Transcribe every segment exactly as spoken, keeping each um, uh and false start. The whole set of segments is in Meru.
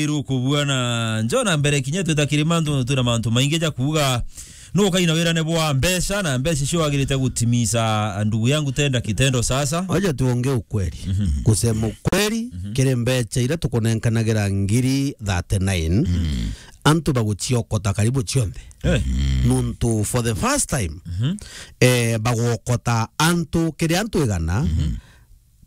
Iru kubua na njona mbere kinya twita kiri mantu, twina mantu maingi ja kuuga. Nukaina wirane bwa mbeca na mbeca icio wagirite gutimisa, ndugu yangu, tenda kitendo sasa. Wacha tuongee ukweli. Mhm. Kusema ukweli, mhm, kiri mbeca iria tukunenkanagira ngiri thirty-nine, mhm, antu baguciokota karibu cionthe. Eh. Nuntu for the first time, mhm, eh, bagwokota antu, kiri antu igana, mhm,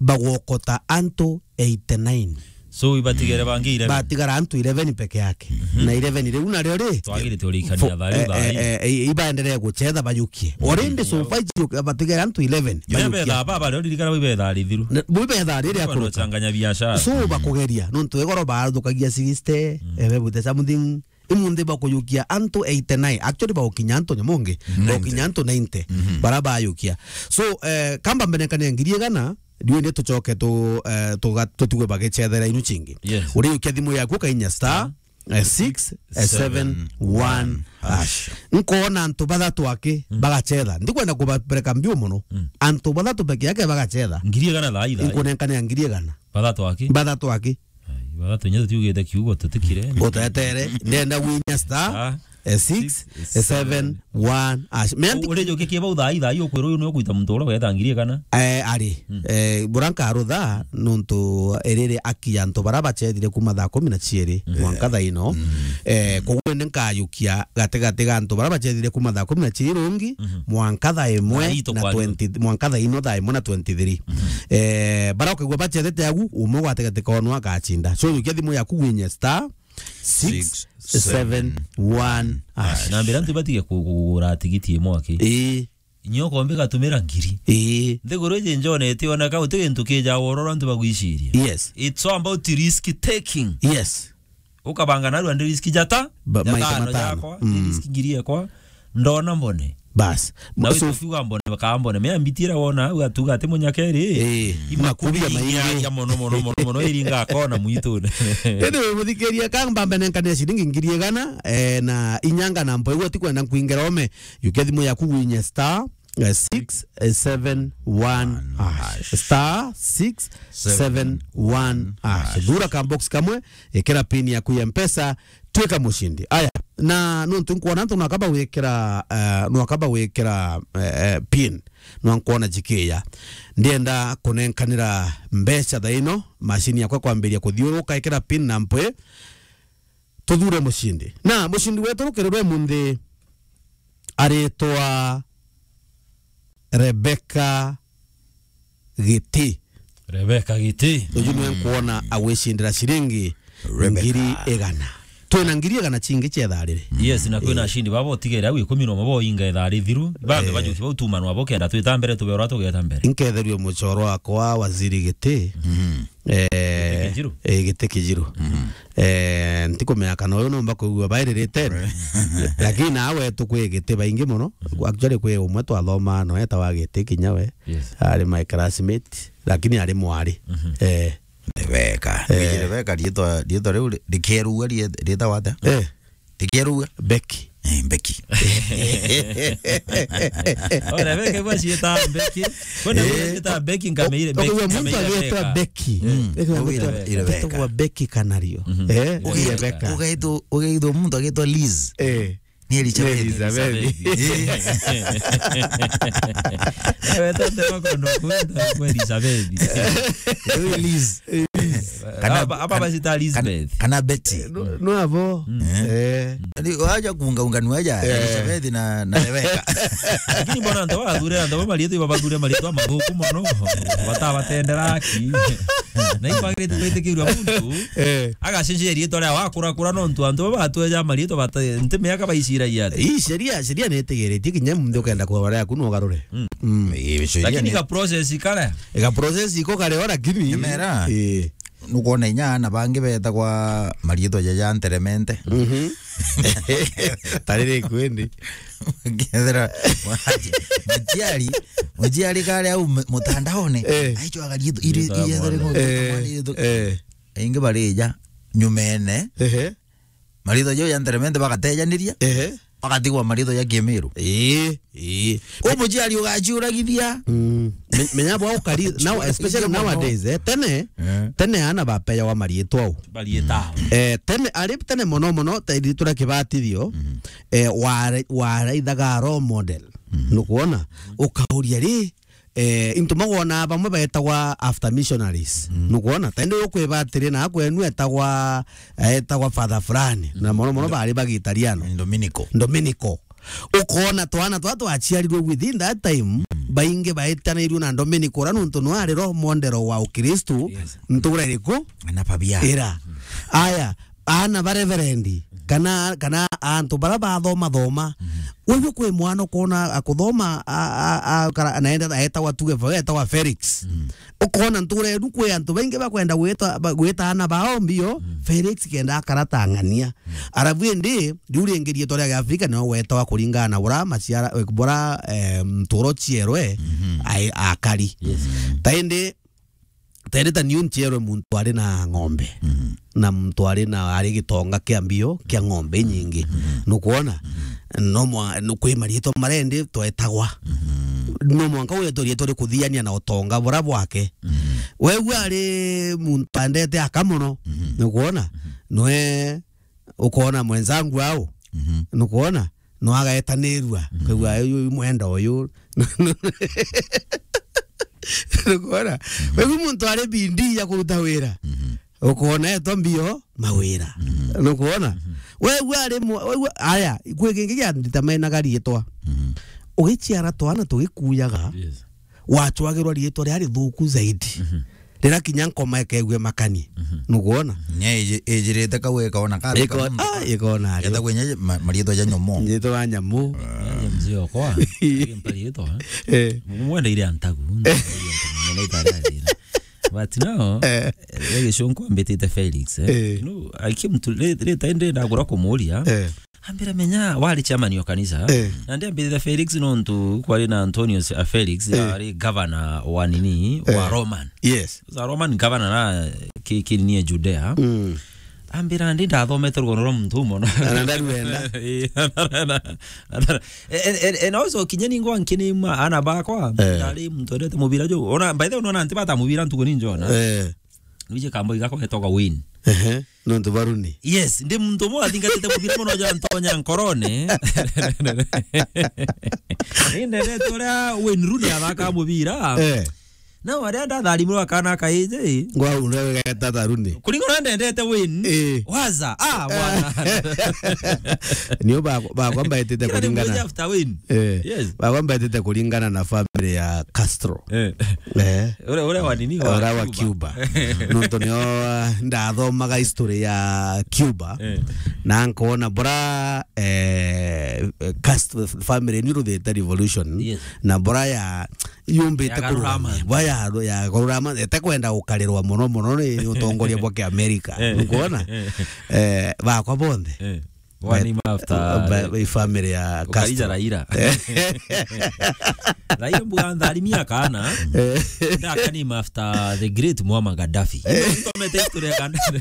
bagwokota antu eighty-nine. So, ibatigere bangi eleven. Batigara antu eleven peke yake. Mhm. Na eleven riu nario ri, twagirite urikania fo-, thari eh, thari. Eh, eh, eh, ibaendelee gucetha bayukie. Mhm. Already so far icio batigara antu eleven. Iria bayukia. Bethaa baba rio ririkana bai bethaa rithiru. Ne-, bai bethaa riria. Bwana kuruka. Changanya biashara. So, mm, bakugeria. Nontu egoro baathukagia sixty, mm, ebe bute something. Imunthi bakuyukia antu eighty-nine. Actually, bagukinya antu nyamungi. Ninety. Bagukinya antu ninety. Mhm. Bara bayukia. So, eh, kamba mbenekania ngiri igana, riu ni tucoke tu, eh, tuga-, tutigwe bagicethera inu cingi. Yes. Uriyukia thimu yaku ukainya star, eh, six seven one hash. Nkona antu bathatu aki, mm, bagacetha. Ndikwenda kubapereka mbiu muno. Mm. Antu bathatu peke yake bagacetha. Ngiri igana thaa ii, thaa ii. Nkunenkanea ngiri igana. Bathatu aki? Bathatu aki. Ai, bathatu inya tutiugite kiugo tutikire. Utetere, ndenda gwinya star, ah, eh, six seven one hash. Meanti- Uri jukikie bau thaa ii, thaa ii ukwirwo uyu niwe ukwita muntu uria wetha ngiri igana? Eh, ari. Mm. Eh, bura nkarutha, nuntu iriri aki ya antu bara bacethire kuma thaa kumi na ciiri, mm, mwanka thaa ino. Mm. Eh, koguo ni nkayukia gatigati ga antu bara bacethire kuma thaa kumi na ciiri rungi, mhm, mwanka thaa imwe na twenty, mwanka thaa ino thaa imwe na twenty-three. Mhm. Eh, bara ukaigua bacethete agu, umwe gwatigati kao nwa agacinda. So, yukia thimu yaku gwinye star six seven one hash. Na mbira ntu batige ku-, kugura tigiti imwe aki. Ii. Nyo kombe gatumira ngiri. Ii. Nthiguru iji njone itioneka, uti gintu kija wororo antu bagwiciria. Yes. It's all about risk taking. Yes. Ukabanga narua ndi risk jata, ba-, jata maita ano matano. Jakwa, mm, ndi risk ngiri ekwa, ndona mbone. Bas. Na so, witu fiwa mbone, bakambone. Mea mbitira wona, au atuga ati munyakeri. Eh, imakubia makubi maingi. Aria mono, mono, mono, mono, iringa akona mwitune. Indi muthikiria kamba mbenenkania ciringi ngiri igana, eh, na inyanga na mpoigwa tikwenda nkwingera ome. Yukia thimu yaku gwinye star, eh, six seven one hash. Star six seven one hash. Thura ka box kamwe, ikira pin yaku ya Mpesa, twika mushindi. Aya, na nuntu nkwona antu nwakaba wikira, eh, nwakaba wikira, eh, eh, pin, nwa nkwona jikiya. Ndienda kunenkanira mbeca thaa ino, mashini yakwa kwambiria kuthiuruka, ikira pin na mpwi, tuthure mushindi. Na mushindi wetu rukirirwe munthi aritwa Rebecca Giti. Rebecca Giti. Uju niwe nkwona agwicindira ciringi Rebecca. Ngiri igana. Twina ngiri igana cingi cia ithaa riri. Yes, na kwina ashindi baba utigere au ikumi na umwe bo inga ithaa rithiru. Bambe, eh, bajuki bau tumanwa bo kenda twita mbere, tube ura tugeta mbere. Nketherue mucoro wakwa, Waziri Giti. Mhm. Eh, Giti Kijiru? Eh, Giti Kijiru. Mhm. Eh, ntikumenya kana uyu nomba kwigua bairirite. Lakini nawe tukwi Giti baingi muno. Mhm. Actually, kwi umwe twathoma no etawa Giti kinya we. Yes. Ari my classmate, lakini ari mwari. Mhm. Eh. Rebecca. Eh. Rebecca, riitwa, riitwa riu ri-, rikerua rie-, riitagwa atia? Eh. Rikerua? Becky. Eh, Becky. Ora, Becky, bwa ciita Becky. Kwenda, eh, ciita Becky, nkameire Becky, ukaigua muntu nkameire agitwa Rebecca. Becky. Mm. Ukaigua muntu agitwa Rebecca. Becky Kanario. Mhm. Eh, Rebecca. Ugaitwa, ugaitwa muntu agitwa Liz. Eh. Ni Elizabeth. Ni Elizabeth. Elizabeth. Eh, wetete makondo kwenda kwa Elizabeth. Ewe Liz. Kana, aba, aba kana, bacita Elizabeth. Kana, kana Betty. No, no abo. Mm. Eh. Eh. Ni waja kuunga unga ni waja, eh, Elizabeth na, na Rebecca. Lakini mbona antu bathure, antu ba marietwa iba bathure marietwa mathuku mono. Batabatendera aki. Na ibagirite kwitikirua muntu. Eh. Agacenjia riitwa ria wakura kura nontu antu baba batweja mariitwa bata-, nti miaka baiciragia ati. Ii, sheria, sheria nitigiritie kinya muntu ukenda kugura yaku no ugarure. Mm. Mm. Ii, sheria. Lakini ni ka process kare. Ga process iko kare o, lakini. Nyamera. Ii. Nukwona inya ana bangi betagwa mariitwa jaja nteremente. Mhm. Tarire kwendi. Ngethera muciari, muciari kare au mu-, mutandaone. Eh. Aichwaga riitwa, iri-, riitwa iri-, mwana. Eh, eh. Aingi barija nyumene. Ehe. Mariitwa jau ja nteremente bagatejaniria. Ehe. Bagatigwa mariitwa ja Kimiru. Ii, ii. U muciari ugaciuragithia. Mm. Me-, menya bwa ukari, now, especially nowadays, eh, tene, Eh. tene ana bapeyawa mariitwa u. Bariitwa. Eh, tene, ari tene mono mono, ta ithuĩ turi kibatithio, eh, wara-, waraithaga role model. Nukwona? Ukauria ri, eh, into magwona bamwe baetagwa after missionaries. Nukwona? Ta indi ukwiba atiri, na kwenu etagwa, etagwa father fulani. Na mono mono bari bagitariano. Dominico. Dominico. Ukona twana twa twaciarirwe within that time, baingi baetanirwe na Dominic ura nuntu nwe ari role model wa Ukristu, Yes. ntura iriku? Na pabia. Ira. Aya, ana ba reverend, kana, kana antu bara bathoma thoma. Wewe kwi mwana ukona akuthoma, a, a, a, kara-, naenda aetagwa tuge, aetagwa Felix. Ukona ntura inu kwi antu baingi bakwenda gwita, ba-, gwita ana bao mbio, Felix kenda akara ta ng'ania. Arabu indi, riu ringi riitwa ria Kiafrika nio gwetawa kuringana na bura maciara, bura, eh, nturo cierwe, ai-, akari. Ta indi, ta indi ta niu ncierwe muntu ari na ng'ombe. Na muntu ari na, ari gitonga kia mbio, kia ng'ombe inyingi. Nukwona? No mwa-, no kwi mariitwa marendi twetagwa. No mwanka wetwe riitwa rikuthiania na utonga bura bwake. Wegua ari muntu andete aka mono. Nukwona? Nwe ukona mwenzangu au, nukwona, no agaetanirua. Kaigua uyu mwenda uyu. Nukwona? Wewe muntu ari bidii ya kuruta wira. Ukona etwa mbio mawira. Nukwona? Wewe ari mu-, wewe, aya, kwi kingi gia ndita mena gariitwa. Ugiciara twana tugikuyaga. Yes. Wacwagirwa riitwa ria rithuku zaidi. Rira kinya nkoma ikeigua makani. Nukwona? Nya iji-, ijirite kau ikona kari Iko-, kamuntu. Ah, ikona ari. Eta kwenye ma-, mariitwa ja nyomo. Riitwa wa nyamu. Aje mzee okwa. Aje mpariitwa, eh? Eh. Mumwenda ile antagu. But now, Eh. eh, gicunku ambitite Felix, eh? Eh. No, I came to, ri-, rita indi ndagura kumuria. Eh. Ambira, menya, wari chairman wa kanisa. Eh. Na ndi ambirire Felix nontu kwari na Antonius, a Felix, Eh. ari governor wa nini, wa Eh. Roman. Yes. Sa Roman governor na ki-, kinini ya Judea. Mm. Ambira, ndi ndathomete rugono rwa muntu umo. Na ndarwenda. Eh, na, na, na, na, and, and, and also, kinya ningo ankinima ana bakwa, Eh. ndari muntu endete mubira jo. Ona, by the way, unaona anti bata mubira ntuku ni njona. Eh. Nuje kambo igako getoka Wayne. Ehe. Nontu baruni. Yes, ndi muntu umwe athingatite mubira mono ja ntonya nkorone. Ni ndendete uria Wayne Rooney athaka mubira. Eh. Na waria ndatharimwe akana kaiji. Ngwa ule wegeta ta Rooney. Kuringana ndendete Wayne. Eh. Waza. Ah, bwana. Nio ba, ba kwamba etete Kila ni kuringana. Mmoja after Wayne. Eh. Yes. Ba kwamba etete kuringana na family ya Castro. Eh. Eh. Ura, ura wa nini? Wa Ura wa Cuba. Cuba. Nontu nio, uh, ndathomaga history ya Cuba. Eh. Na nkoona bura, eh, Castro family ni ruthite revolution. Yes. Na bura ya yumbite Ya kururama. Garurama. Bura ya, ya garurama, ete kwenda gukarirwa mono mono ni utongoria bwa Kiamerika. Eh. Nukwona? Eh. Eh, bakwa bonthe. Eh. Wa name after Ba-, the ba-, family ya Ukarija Castro. Raila. Raila mbuga ntharimia kana. Eh. Ndaka name after the great Muammar Gaddafi. Eh. Nthomete history ya Gaddafi.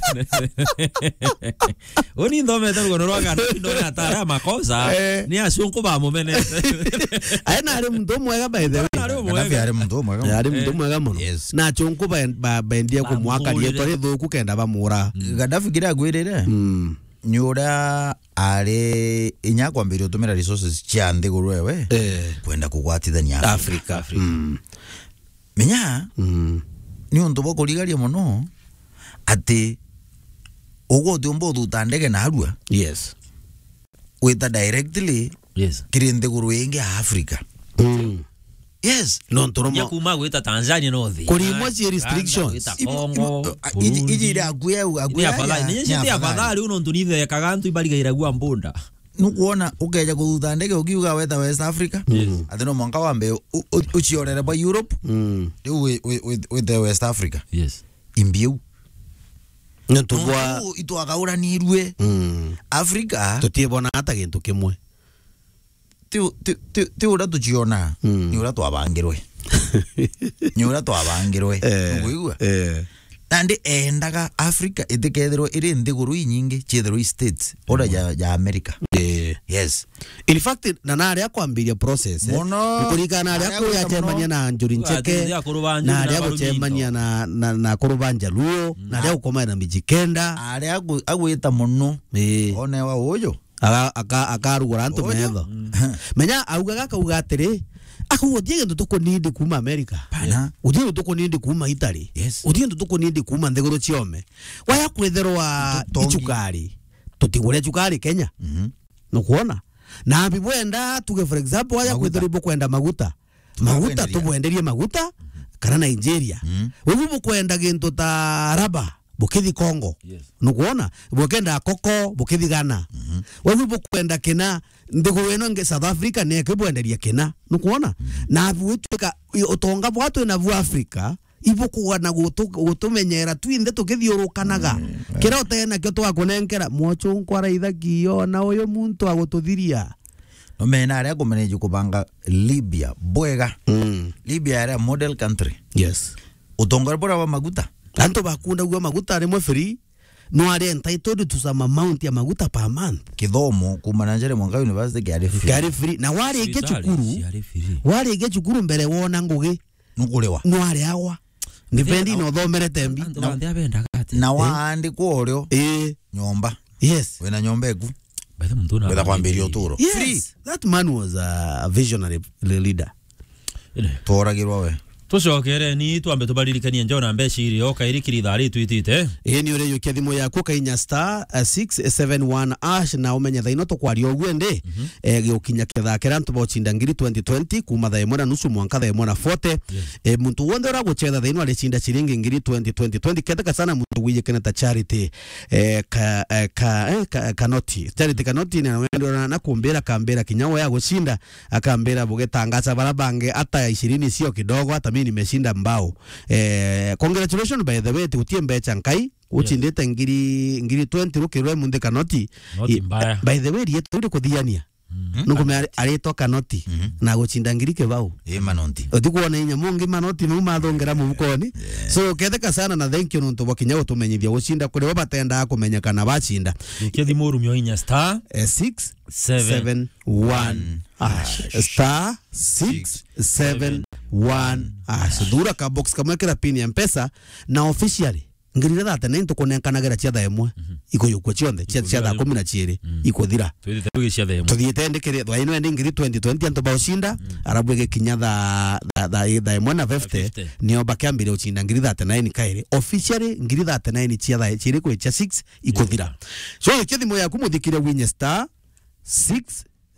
Uni nthomete rugono rwa Gaddafi, ndona atara makosa, Eh. ni acunku ba mumene. Aye na ari muntu mwega, by the way. Na ari Gaddafi mwega. Ari muntu mwega. Ari muntu Eh. mwega mono. Yes. Na acunku ba-, ba-, bendia kumwaka Bamugurire. Rietwa rithuku kenda bamura. Gaddafi kira agwirire. Mm. Ni uria ari inya kwambiria utumira resources cia nthiguru ewe Eh. kwenda kugwatithania Africa. Africa. Mm. Menya, Mm. ni untu bwa kurigaria mono ati ugwe utiumba uthuta ndege narua Yes. wita directly Yes. kiri nthiguru ingi ya Africa. Mm. Yes. Nontu Nya rumwe kuma gwita Tanzania no thi. Kurimwa Ah, ci restrictions. Uganda, gwita Congo, iji, iji, iji Burundi. Iri akuya, akuya Ni afadhali. Ni ni afadhali. Afadhali uno ntu nithekaga antu ibarigairagua mbunda. Nukwona ukeja kuthuta ndege ukiuga weta West Africa. Yes. Ati no mwanka wambe u-, u-, uciorere bwa Europe. Mm. Riu wi-, wi-, wi-, wite West Africa. Yes. Imbiu. Nontu bwa Nontu itwagauranirue. Mm. Africa. Tutiibona ata gintu kimwe. Ti, ti, ti, ti uria tuciona, Mm. ni uria twabangirwe. Ni uria twabangirwe. Eh, Nukwigua? Eh. Nandi endaga Africa itikethirwe iri nthiguru inyingi, ciethirwe i states, uria ja, ja America. Eh. Yes. In fact, na naria kwambiria process, eh, Mono. Kuringana na aria Aria kuya gwita muno. Cemania na Njuri Ncheke, Ateithia akuru ba Njuri na na aria Barumito. Gucemania na, na, na akuru ba Njaluo, na aria gukomana na Mijikenda. Aria agu-, agwita muno. Ii. Onewa uyu. Aga-, aka-, akarugura antu Uyu. Metho. Mm. Menya, augaga, akauga atiri, akauga, "Utie gintu tukunindi kuuma America. Pana. Utie gintu tukunindi kuuma Italy. Yes. Utie gintu tukunindi kuuma nthiguru ciome." Waya kwitherwa Tutongi. Icukari. Tutigure cukari Kenya. Mhm. Nukwona? Na bibwenda, tuge for example, waya Maguta. Kwitherwa ibukwenda maguta. Maguta, tubwenderie maguta, kana Nigeria. Mm. Wewe bukwenda gintu ta raba, bukithi Congo. Yes. Nukwona? Bukenda koko, bukithi Ghana. Mhm. Wewe bukwenda kina, nthiguru ino nge South Africa, neke bwenderia kina. Nukwona? Mhm. Na bwitwika, i-, utonga bwa twina bu Africa, ibukugana gutu-, gutumenyera twinthe tukithiurukanaga. Mm, eh. Kira utenakio twakunenkera, mwochu nkwara ithaki yo, na uyu muntu agututhiria. No mena aria kumeneji kubanga Libya bwega. Mm. Libya aria model country. Yes. Utongoria buria bwa maguta. Antu bakundagua maguta rimwe free, no ari entitled to some amount ya maguta per month. Kithomo kuma na njere mwanka university kiari free. Kiari free. Na warikia Cibitari cukuru, ciari free. Warikia cukuru mbere wona ngugi. Nukuriwa. No ariagwa. Depending na uthomere tembi. Antu banthe abendaga atia? Na Eh? Waandikwa urio. Eh. Nyomba. Yes. Wina nyomba eku. By the way, muntu una Wetha kwambiria uturo. Yes. Free. That man was a visionary le-, leader. Ine. Tworagirwa we. Tucokereni, twambe tubaririkanie njau na mbeca iri, oka iri kiri ithaa ritwitite. Ii ni urijukia thimu yaku, ukainya star, eh, six seven one hash, na umenye thaa ino tukwaria uguo ndi, Mhm. eh, giukinya kethaa keria antu baucinda ngiri twenty twenty, kuma thaa imwe na nusu mwanka thaa imwe na forty. Yes. Eh, muntu wonthe uragucetha thaa ino aricinda ciringi ngiri twenty, twenty, twenty. Ketheka sana muntu wijikene ta Charity, eh, ka, eh, ka, eh, ka, Kanoti. Charity Kanoti ni wendwa na, na kumbira, akambira kinya we agucinda, akambira bugitangaza bara bangi hata ya ishirini sio kidogo, hata mimi nimeshinda mbao. Eh, congratulations by the way, ti gutie mbeca nkai, Yes. Ucindite ngiri, ngiri twenty rukirwe munthi Kanoti. Not I-, mbaya. By the way, rietwa rikuthiania. Mm. Nukume ari-, aritwa Kanoti, Mhm. na gucinda ngiri kibao. Ii, Manoti. Utikuona inya mungi Manoti mau mathongera mufukoni. Yeah. So, ketheka sana na thank you nontu bwa kinya gutumenyithia gucinda kuri bo batendaa kumenyekana bacinda. Ukia thimu urumio inya star Eh, six seven one hash. Star six seven one hash. Thura ka box kamwe kira pin ya Mpesa na officially ngiri thirty-nine tukunenkanagira cia thaa imwe. Mhm. Ikuyukua cionthe, cia, cia thaa kumi na ciiri, Mm. ikuthira. Twithite tugicia thaa imwe. Tuthiite ndikiri, thaa ino ndi ngiri twenty twenty antu baucinda, Mm. arabu igikinya thaa, thaa, thaa, thaa imwe na fifty, Fifty. Nio bakiambiria ucinda ngiri thirty-nine kairi. Officially, ngiri thirty-nine cia thaa ciiri kwi cia six ikuthira. Yeah. So, ikia thimu yaku muthikire winye star six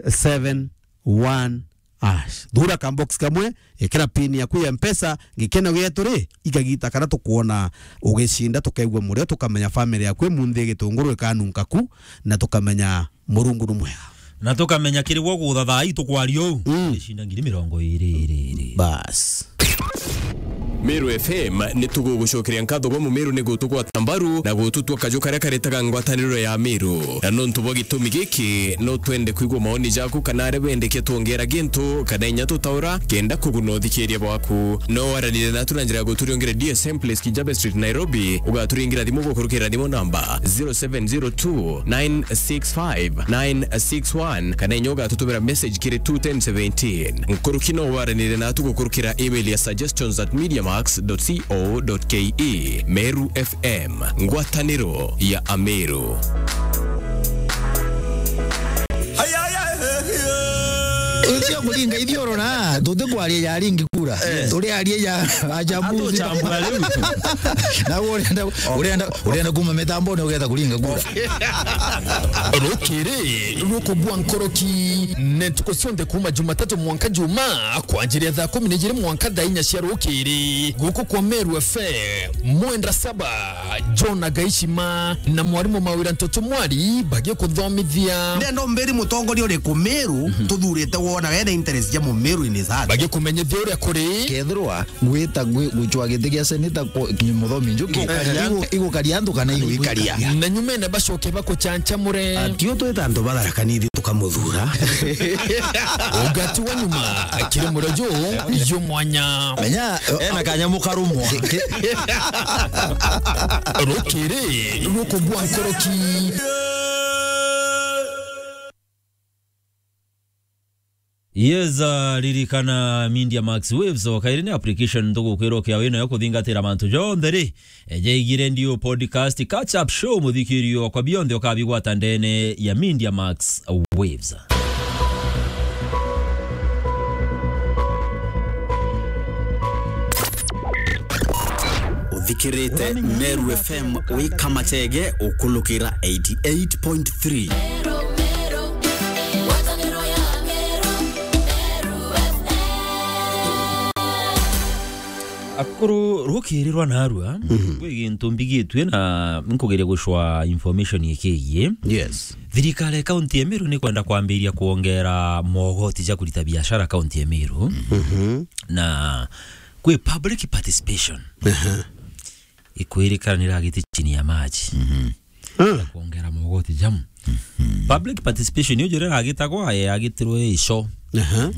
seven one hash. Thura ka box kamwe, ikira pin yaku ya Mpesa, gikeno gietu ri, igagita kana tukuona ugicinda, tukaigua murio, tukamenya family yaku imunthi gitunguru ikanunka ku, na tukamenya Murungu ni mwega. Na tukamenya kiri gwo gutha thaa ii tukwaria uu, Mm. icinda ngiri mirongo iri iri iri. Bas. Meru F M ni tugugucokeria nkatho gwa Mumeru ni gutugwata mbaru na gututua kaju karia karetaga ngwataniro ya Meru. Na nontu bwa gitumi giki, no twende kwigua maoni jaku kana aria wendekia twongera gintu kana inya tutaura kenda kuguna uthikiria bwaku. No waranire natu na njira ya guturiongera D S M Place, Kijabe Street, Nairobi, ugaturingirira thimu gukurukira thimu namba zero seven zero two nine six five nine six one, kana inya ugatutumira message kiri two ten seventeen. Nkuruki no waranire natu gukurukira email ya suggestions at mediamax dot co dot ke. Meru F M, ngwataniro ya Ameru. Ucio kuringa ithiorora, tutikwaria ya ringi kura. Turiaria ya ajabu. Atuchambura riu. Na urenda, urenda, urenda kuma mitamboni ugetha kuringa kura. Rukiri rukugwa nkoroki, ne ntuku cionthe kuma Jumatatu mwanka Juma, kwanjiria thaa kumi na ijiri mwanka thaa inya cia rukiri, guku kwa Meru F M, mwendwa Saba, John Agaishima, na mwarimu Mawira Ntoto Mwari bagikuthomithia. Ndenda umbiri mutongoria uriku Meru tuthurite wona wena interest ya Mumeru in his heart. Bagikumenyithia uria kuri. Kethirwa gwita gwi-, gucwa giti gia seneta ku-, ki-, Muthomi Njuki, Igukaria. Igu-, igukaria antu kana iguikaria. Na nyumene bacoke bakuchanchamure. Atio twita antu batharakanithi tukamuthura. Ugati wa nyuma, kiri murio ju, ju mwanya. Menya, ena kanyamu karumwa. Rukiri rukugwa nkoroki. Yes, uh, ririkana Media Max Waves, o kairi ni application ntugukwira ukia wina yo kuthingatira mantu jonthe ri, e, jaigire ndio podcast, catch up show, muthikirio kwa bionthe ukabigwata ndene ya Media Max Waves. Uthikirite Meru F M wi Kamachege ukulukira eighty eight point three. Akuru rukirirwa narua, mhm, kwi gintu mbigitue na nkugeria gucwa information ikigie. Yes. Thirikari ya kaunti ya Meru ni kwenda kwambiria kuongera mogoti ja kurita biashara kaunti ya Meru. Mhm. Na kwi public participation. Aha. Ikwirikana ni ragiti chini ya maji. Mhm. Ah. Kuongera mogoti jamu. Mhm. Public participation yo jure ragitagwa, e, agitirwe ico. Aha.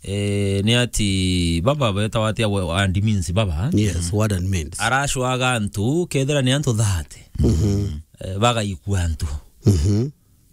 E, ni ati baba betawa atia we-, and means baba? Yes, what and means. Aracwaga antu, kethira ni antu thirty. Mhm. E, bagaikua antu. Mhm.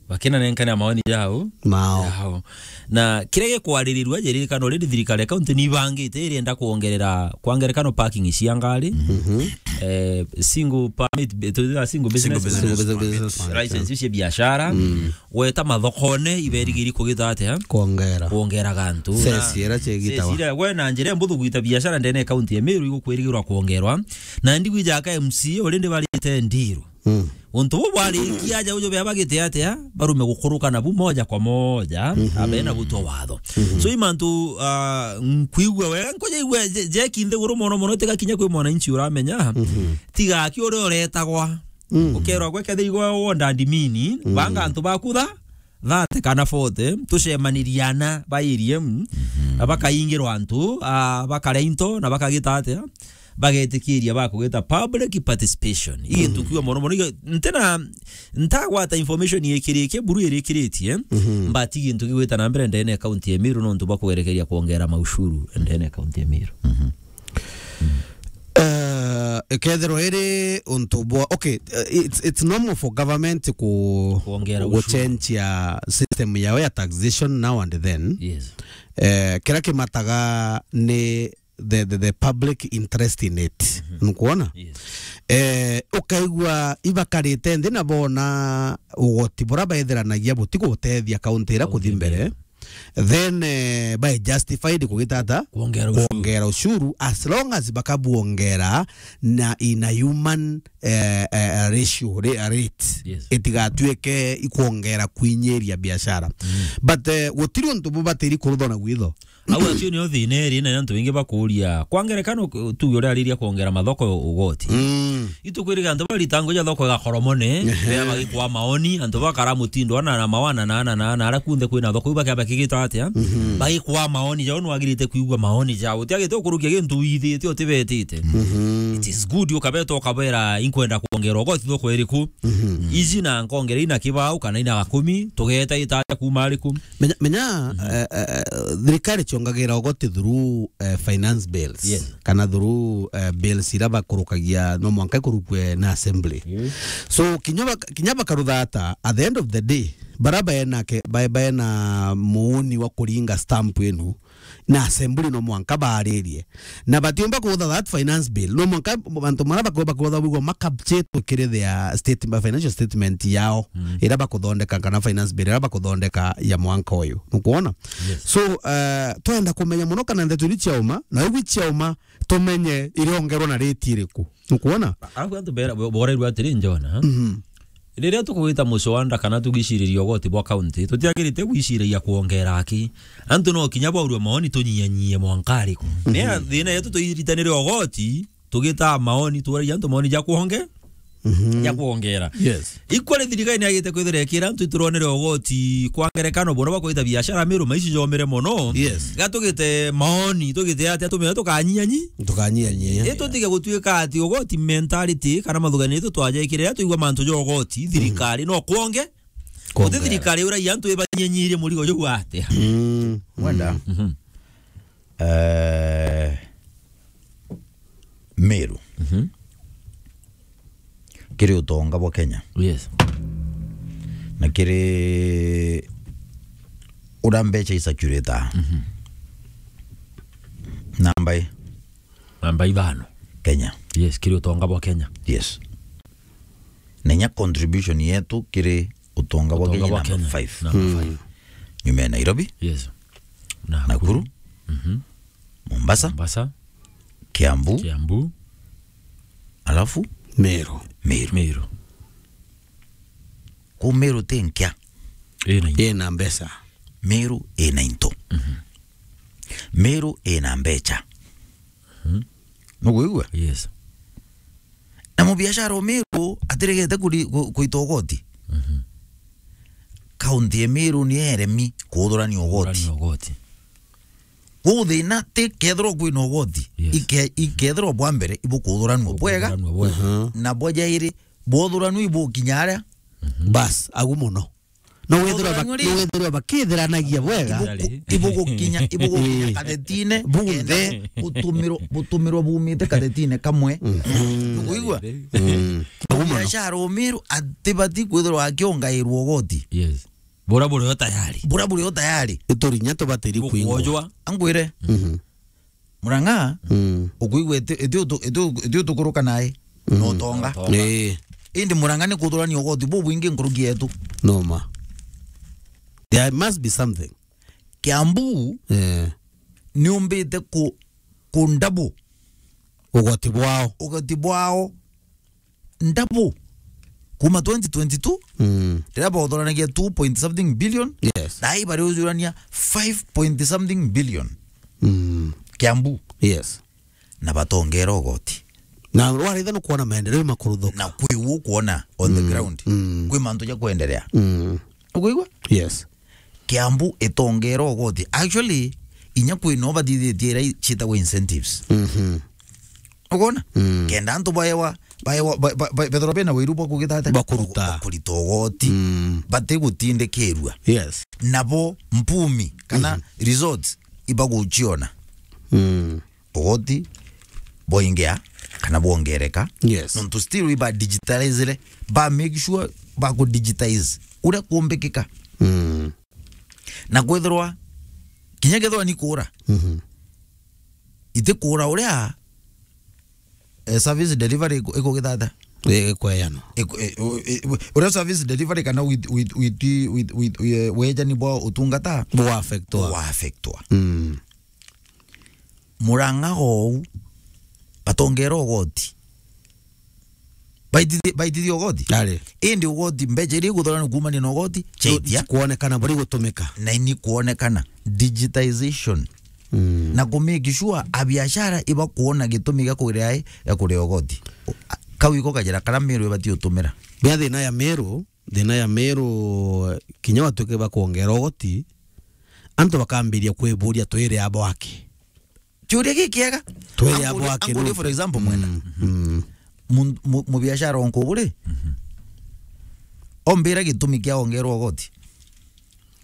Bakinanenkanira maoni jao. Mao. Jao. Na kiria gikwaririrua, jiririkana already thirikari ya kaunti ni ibangite irienda kuongerera, kwa ngerekano, parking cia ngari. Mhm. Eh, single permit, be-, tu-, single business, single business permit, license cia biashara. Mm. Gweta mathokone, iberigiri kugita atia? Kuongera. Kuongera gantu. Ceci iria ciigitagwa. Ceci iria, we na njira mbuthu gwita biashara ndene ya kaunti ya Meru igukwirigirwa kuongerwa. Na ndigwija aka M C A already barite ndiru. Mm. Untu bu bwarikia aja ujo bea bagite atia, barume gukuruka nabu moja kwa moja, mhm, abena gutwa watho. Mhm. So, imantu, ah, nkwigua wega, nkujaigua je-, jeki nthiguru mono mono, tiga kinya kwi mwananchi uramenya, mhm, tiga aki uria uretagwa. Mm. Ukerwa gwe kethira igwe wonda ndimini, mm, banga antu baku tha-, thirty kana forty, tucemanirie ana ba area, mm, mhm, na bakaingirwa antu, ah, bakaria into, na bakagita atia? Bagetikiria bakugita public participation. Ii, mhm, ntukiwa mono mono, iga-, ntena, ntagwata information ikirikie, buru irikiritie, mhm, mbati gintu gigwita na mbere ndene ya kaunti ya Meru, nontu bwa kugerekeria kuongera maushuru ndene ya kaunti ya Meru. Mhm. Eh, ikethirwa iri untu bwa, okay, eh, it's, it's normal for government ku-, kuongera ushuru, guchenjia system yao ya taxation now and then. Yes. Eh, kiria kimataga ni the, the, the public interest in it. Mhm. Nukwona? Yes. Eh, ukaigua ibakarite nthi na bona ugoti bura baithiranagia butigutethia kaunti iria kuthi mbere. Then, eh, by justified kugita ata? Kuongera ushuru. Kuongera ushuru, as long as bakabuongera na in a human, eh, eh, ratio, ra-, rate. Yes. Itigatuike ikuongera kwinyiria biashara. Mm. But, eh, gutiri untu bubatiri kuruthwa na gwitho. Au acio nio thina iri, na antu baingi bakuria. Kwa ngerekano, tuge uria ariria kuongera mathoko ugoti. Mm. Itukwiriga antu barita nguja thoko igakoromone, ehe, bea bagikwa maoni, antu bakara mutindo ana na mawana na ana na ana, ara kunthe kwina thoko, iu bakea bakigita atia? Mhm. Bagikwa maoni jao, nwagirite kwigua maoni jao. Utiagite ukurukia gintu withite, utibetite. Mhm. It is good ukabeta ukabera, inkwenda kuongera ugoti thoko iriku? Mhm. Iji na nkongera ina kibao kana ina gakumi, tugeta itaja kuma ariku? Menya, menya, mhm, eh, eh, thirikari ciongagira ugoti through, eh, finance bills. Yes. Kana through, eh, bills iria bakurukagia no mwanka ikurukue na assembly. Yes. So, kinya bak-, kinya bakarutha ata, at the end of the day, bara baena ke-, ba-, baena muuni wa kuringa stamp inu, na assembly no mwanka baaririe. Na batiumba kuutha that finance bill. No mwanka antu mara bakwe-, bakwotha bigwa makabchetwe kiri their state-, financial statement yao, mm, iria bakuthondeka kana finance bill iria bakuthondeka ya mwanka uyu. Nukwona? Yes. So, eh, twenda kumenya muno kana ndeto iri ciauma, na iu ciauma, tumenye irongerwa na rate iriku. Nukwona? Alafu antu bera-, bo-, borerwa atiri, Njona, mhm, riria tukugwita muswanda kana tugiciriria ugoti bwa county, tutiagirite gwiciragia kuongera aki. Antu no kinya baurwe maoni tunyianyie mwanka ariku. Mhm. Ni thina yetu tuiritanire ugoti, tugita maoni, turagia antu maoni ja kuonge-, mhm, ja kuongera. Yes. Equally, thirikari ni yagite kwithira ikira antu ituronere ugoti kwa ngerekano, bono bakwita biashara Meru, maici jomire mono. Yes. Ga tugite maoni, tugite atia tumenya tukanyianyi? Tukanyianyi. Itutige gutuika ati ugoti mentality kana mathugani itu twajekire, riria tuigua mantu ja ugoti, thirikari no kuonge. Kuongera. Guti thirikari uragia antu ibanyenyirie murigo juu atia? Mm. Mwenda. Mhm. Eh, Meru. Mhm. Kiri utonga bwa Kenya. Yes. Na kiri Ura mbecha i circulator. Mhm. Namba i? Namba ithano. Kenya. Yes, kiri utonga bwa Kenya. Yes. Na inya contribution yetu kiri utonga bwa Kenya namba five. Namba five. Nyuma ya Nairobi. Yes. Nakuru. Nakuru. Mhm. Mombasa. Mombasa. Kiambu. Kiambu. Alafu? Meru. Meru. Meru. Ku Meru ti nkia. Ina into. Ina mbeca. Meru ina into. Mhm. Meru ina mbecha. Mhm. Nukwigua? Yes. Na mubiashara o Meru atiregete kuri-, ku-, kuita ugoti. Mhm. Kaunti ya Meru ni eremi kuthurania ugoti. Kuthurania ugoti. Kwou thina ti kethirwa kwina ugoti. Yes. Ike-, ikethirwa bwa mbere ibukuthuranua bwega. Bukuthuranua bwega. Mhm. Na bwa jairi bwothuranua ibukinya aria. Mhm. Bas, agu muno. No wethirwa ba-, no wethirwa bakithiranagia bwega. Ibuku-, ibugukinya, ibugukinya kathetine, bunthe, kenda butumirwo, butumirwo bumite kathetine kamwe. Mhm. Nukwigua? Mm. Agu muno. Biashara o Meru atibati kwithirwa akiongairwa ugoti. Yes. Bura buri o tayari. Bura buri o tayari. Iturinya tubatiri kuingwa. Bukwojwa. Angwire. Mhm. Murang'a, mm, ukwigua iti, iti utu-, iti u-, iti utukuruka nae, mm, na utonga. Utonga. Ii. Indi Murang'a ni kuthurania ugoti bubwingi nkuruki yetu. Noma. There must be something. Kiambu, eh, ni umbite ku, ku double ugoti bwao. Ugoti bwao. Double. Kuma twenty twenty-two, mm, riria bauthuranagia two point something billion, yes, na ai bariujurania five point something billion. Mm. Kiambu. Yes. Na batongera ugoti. Na waritha nukwona maendeleo makuruthuka. Na kwi u kuona on the, mm, ground. Mm. Kwi mantu ja kwenderea. Mm. Ukuigua? Yes. Kiambu itongera ugoti. Actually, inya kwi no bathithitie ira i-, ciitagwa incentives. Mhm. Ukona? Mm. Kenda antu baewa, baewa, ba-, ba-, ba-, bethirwa bena wiru bwa kugita atia? Bwa kuruta. Bwa kurita ugoti. Mm. Batigutindikirua. Yes. Nabo mpumi kana, mhm, resorts ibaguciona. Mm. Ugoti bwaingia kana bwongereka. Yes. Nontu still iba digitalizire, ba make sure ba ku digitize uria kumbikika. Mm. Na kwithirwa, kinya kethirwa ni kuura, mhm, iti kuura uria, eh, service delivery iku-, ikugithata. Ii, ikweyana. Iku-, i-, u-, i-, u-, uria service delivery kana wit-, wit-, wit-, wit-, wit-, eh, wejani bwa utungata bwa affectwa. Bwa affectwa. Mm. Murang'a ou, batongera ugoti. Baitithi-, baitithia ugoti? Ari. Indi ugoti, mbecha iria iguthorana kuumania na ugoti, ciaitia. Kuonekana buri gutumika. Na ini kuonekana. Digitization. Mm. Na ku make sure abiashara ibakuona gitumi gia kuria ai, gia kuria ugoti. Kau iko kajira karia Meru ibati utumira. Bia thina ya Meru, thina ya Meru, kinya watuike bakuongera ugoti, antu bakambiria kwiburia, "Twire abo aki?" Kiuria gikiega. Twire abo aki? Anguria, for example, mwena. Mm, mm. Mu-, mu-, mubiashara o Nkubu ri? Mhm. Ombira gitumi kia ongerwa ugoti.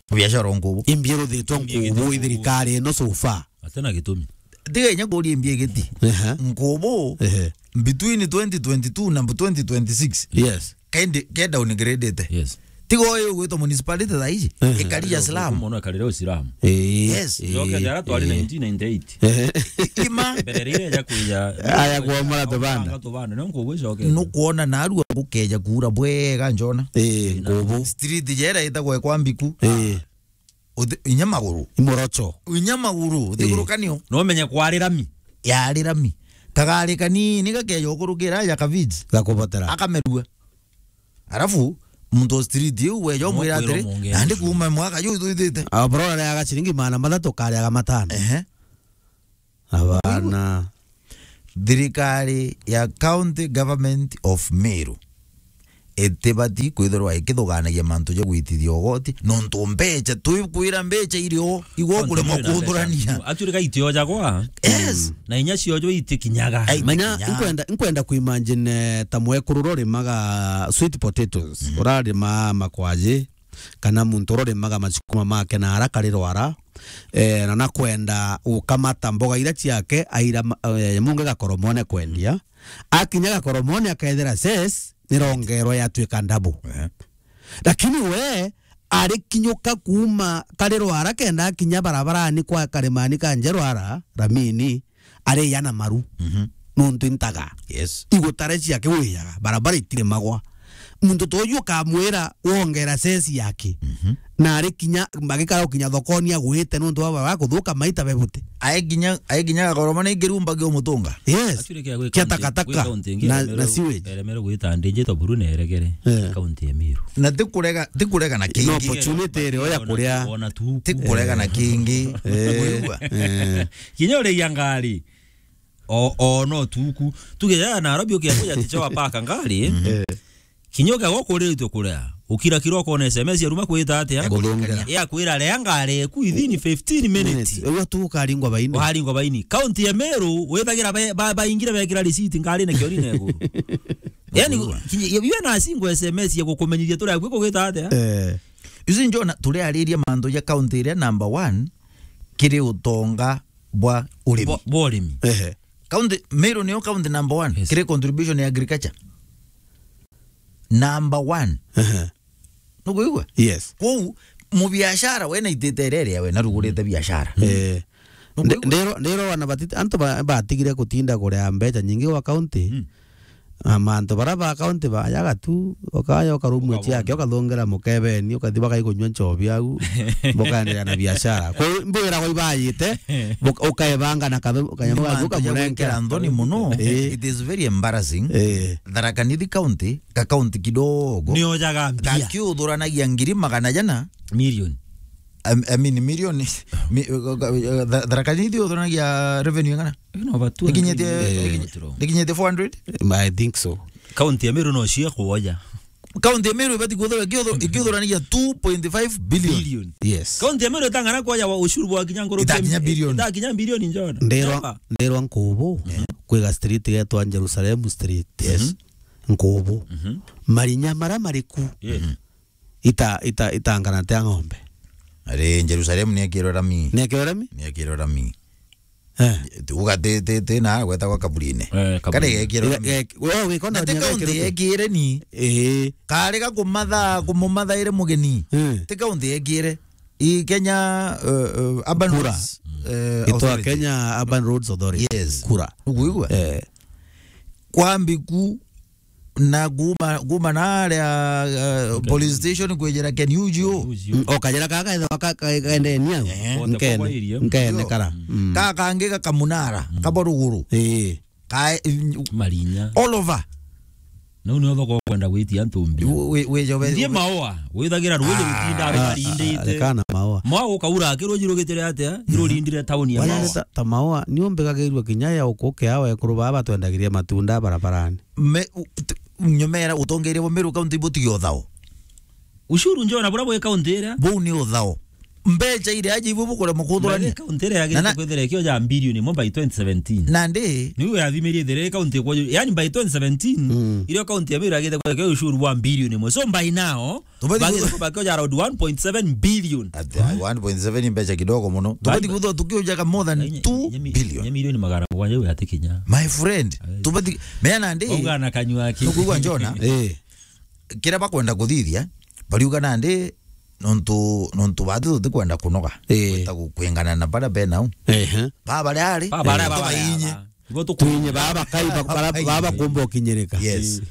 Mubiashara o Nkubu. Imbi iruthitwe Nkubu i thirikari ino so far? Atena gitumi. Tiga inya kuria imbi igiti. Ehe. Nkubu, ehe, between twenty twenty-two na twenty twenty-six. Yes. Kaindi, ke downgradete. Yes. Tiga uyu ugwitwa municipality thaa iji, eh, ikari ya slum. Mono ikarire o slum. Eh, yes. Eh, njoke jara twari, eh, nineteen ninety-eight. Eh. Ima. Mbere rire ya kuija. Aya kwa mara tubanda. Tubanda, no Nkubu icoke. Nukwona narua gukeja kuura bwega njona. Eh, Nkubu. Street jera itagwa kwa Mbiku. Eh. Uthi-, inya maguru. Imorocho. Inya maguru, uthigurukanio. Eh. No menye kwari rami. Yari rami. Kagari kanini gakeja ukurukira ya kaviji. Gakubatara. Akamerua. Arafu, muntu o street iu weja umwira atiri, "Nandi kuuma mwaka ju twithite." Abrora riaga ciringi magana mathatu, kariaga matano. Ehe. Abana. Thirikari ya County Government of Meru itibati kwithirwa ikithuganagia mantu ja gwitithia ugoti, nontu mbecha, twikwira mbecha iri o, igwo kuremwa kuthurania. Actually, gaitio jagwa. Yes. Mm. Na inya cio jo itikinyaga. Ai, menya, itikinyaga. Nkwenda, nkwenda kuimagine, eh, ta mwekuru rorimaga sweet potatoes, mm, urarima makwaji, kana muntu urorimaga masukuma make na ara kari rwara, eh, na nakwenda ukamata mboga ira ciake, aira ma-, eh, munge gakoromone kwendia. Akinya gakoromone akethira ses nirongerwa yatuika double. Eh. Lakini we Arikinyuka kuuma kari Rwara kenda akinya barabarani kwa karimani ka nje Rwara, Ramini, ariya na maru. Mhm. Nontu intaga. Yes. Igutare ciake wiyaga, barabara itirimagwa. Muntu ta uju ukamwira wongera ceci yake. Mhm. Na ari kinya, magikara gukinya thokoni agwite nontu baba bakuthuka maita bebuti. Ae kinya, ae kinya gagoroma ni ngirumba kio mutunga. Yes. Actually, kia gwika kia nti-, takataka gwika nti ingi na, eremerwe na sewage. Eremerwe gwita ndinjito buru na eregere. Eh. Kaunti ya Meru. Na tikurega, tikurega na kingi. No opportunity iri oya kuria. Ona tu. Tikurega na kingi. Eh. Wigua? Eh. Kinya urigia ngari. O, o no tuku. Tuge ya Nairobi ukia kuja ticho wa paka ngari. Eh. Kinya ukia gokuriritwe kuria. Ukira kiro kona S M S ya ruma kwita atia? Ya kuthungira. Ya kwira ria ngari eku within fifteen minutes. Minutes. Uga tu ukaringwa baini. Ukaringwa baini. County ya Meru, withagira be-, ba-, baingire bekira receipt ngari na kiori na iguru. Yani, kinya, iwe na single S M S ya gukumenyithia turi akwi kugita atia? Eh. Uzi njona turi ariria mantu ja county iria number one kiri utonga bwa urimi. Bwa, bwa urimi. Ehe. County, Meru niyo county number one, yes, kiri contribution ya agriculture. Number one. Ehe. Nukwigua? Yes. Kwou, mubiashara we na itite iria iria we narugurite biashara. Eh. Nukwigua? Ndero, ndero wana batite, antu ba-, batigire kutinda kuria mbeca nyingi gwa county. Mm. Na mantu bara ba county bayaga tu, ukaya ukarumua ciake, ukathungira mukebeni, ukathi bakaikunyua nchobi au, bukaendelea na biashara. Kwa hiyo, mbwira kwa ibayite, buka-, ukaebanga na kathu-, kanyama gaku ukamurenkera. Nthoni muno, eh, it is very embarrassing. Eh. Tharaka Nithi County, ka county kidogo. Niojaga mbia. Gakiuthuranagia ngiri magana jana. Million. I, I mean, million. Mi-, uh, uh, uh, Tha-, Tharaka Nithi uthuranagia revenue ingana? No, but two hundred. Ikinyite, eh, ikinyite four hundred? I think so. County ya Meru no cio kuoja. County ya Meru ibati kuthura, ikiuthu-, ikiuthuranagia two point five billion. Billion. Yes. County ya Meru itang'ana kuoja wa ushuru bwa kinya ngoro. Itakinya billion. Itakinya billion njona. Nderwa, nderwa nkubu, eh, kwiga street yetwa Jerusalem Street. Yes. Mhm. Nkubu. Mhm. Marinya mara mariku. Yeah. Mhm. Ita-, ita-, itangana tia ng'ombe. Ari Jerusalem niekirwe rami. Niekirwe rami? Niekirwe rami. Eh. Uga ti, ti, ti na gwetagwa kaburine. Eh, kaburine. Kare gekirwe rami. Ge-, ge-, we, we, kona na ti nya county gekirwe yekire ni. Eh. Kare ga kumatha, kumumathaire mugeni. Eh. Ti county yekire. I Kenya, uh, uh, Urban Roads, uh, Authority. Kenya Urban Roads Authority. Yes. Kura. Ukuigua? Eh. Kwa mbiku na kuma, kuma na aria, uh, police station kwijira Ken Uju. Mm, o kajira kaka, ka-, ka-, kaendeni au. Eh. Nkene, nkene kara. Mm. Ka kangi gakamunara, kabo ruguru. Eh. Kae, Marinya. All over. Nau nio thoko kwenda gwitia antu mbia. Wi-, wi-, wi-, wi-, Ndie maoa, withagira ruuji rutinda rukarindite. Kana maoa. Mwa ukaura akiruji rugitire atia? Irurindire tauni ya maoa. Wanyarita ta maoa, ni umbigagirua kinya ya ukuke awe ekuru baba batwendagiria matunda barabarani. Me, u-, t-, nyomera utongeria bo Meru County butige uthao. Ushuru njona bura bwe county iria. Buu ni uthao. Mbeca iria aja ibwe bukurema kuthurania. County iria yagirite kwithira ikioja bilioni imwe by twenty seventeen. Nandi? Niu yathimirie ithire county kwa, yani by twenty seventeen, mm, irio county ya Meru yagirite kwithira ikioja ushuru wa bilioni imwe. So by now, tubati bagirite ku-, bakioja around one point seven billion. Ati, one point seven mbeca kidogo muno. Tubati kuthwa tukiojaga more than two billion. Nye milioni magana mugwanja iu yatikinya. My friend, tubati, mea nandi? Bauga na kanyua aki. Nukuigua njona? Eh. Kiria bakwenda kuthithia, bariuga nandi nontu, nontu batu tutikwenda kunoga. Ii. Gwita gu-, kwingana na baria be nau. Ehe. Baba baria ari, baba baria, baba bainye. Ibo tuku-, twinye baba kai, ba-, bara-, baba kumba ukinyirika. Yes. Ii.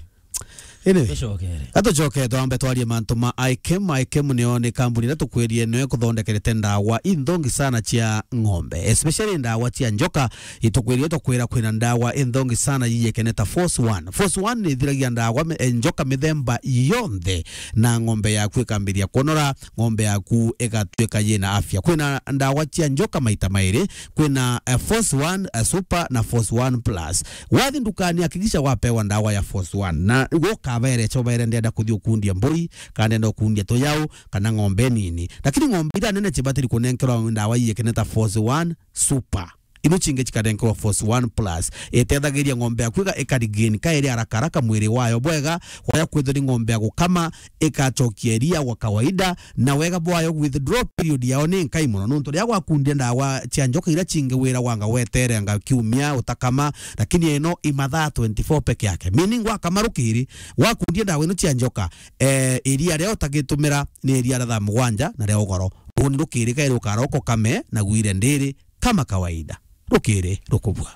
Anyway, tucokere. Atucokere twambe twarie mantu ma I K M. I K M niyo ni kambuni iria tukwirie niyo ikuthondekerete ndawa inthongi sana cia ng'ombe, especially ndawa cia njoka. Itukwirire tukwira kwina ndawa inthongi sana yiyekene ta Force One. Force One ni ithiragia ndawa mi-, eh, njoka mithemba yonthe, na ng'ombe yaku ikambiria kuonora, ng'ombe yaku igatuika yina afya. Kwina ndawa cia njoka maita mairi, kwina, eh, Force One, eh, Super na Force One Plus. Wathi ndukani, hakikisha wapewa ndawa ya Force One. Na gukabere chobere ndenda kuthi ukundia mbui, kana ndenda ukundia tuyau, kana ng'ombe nini. Lakini ng'ombe iria nene chibatiri kunenkerwa ndawa yiyekene ta Force One Super. ino cingi cikanenkerwa Force One Plus. Itethagiria ng'ombe yaku iga-, ikaregain kairi haraka haraka mwiri wayo bwega, kwaya kwithirwa ni ng'ombe ya gukama, ikacokia iria gwa kawaida, na wega bwayo withdraw period yao ni nkai mono, nontu riria gwakundia ndawa cia njoka iria cingi wira wanga wetere anga kiumia utakama, lakini ino i mathaa twenty-four peke yake. Meaning gwakama rukiri, gwakundia ndawa ino cia njoka, eh, iria ria utagitumira ni iria ria thaa mugwanja na ria ugoro. Runi rukiri kairi ukaroko kame na gwire ndiri kama kawaida. Rukiri rukubua.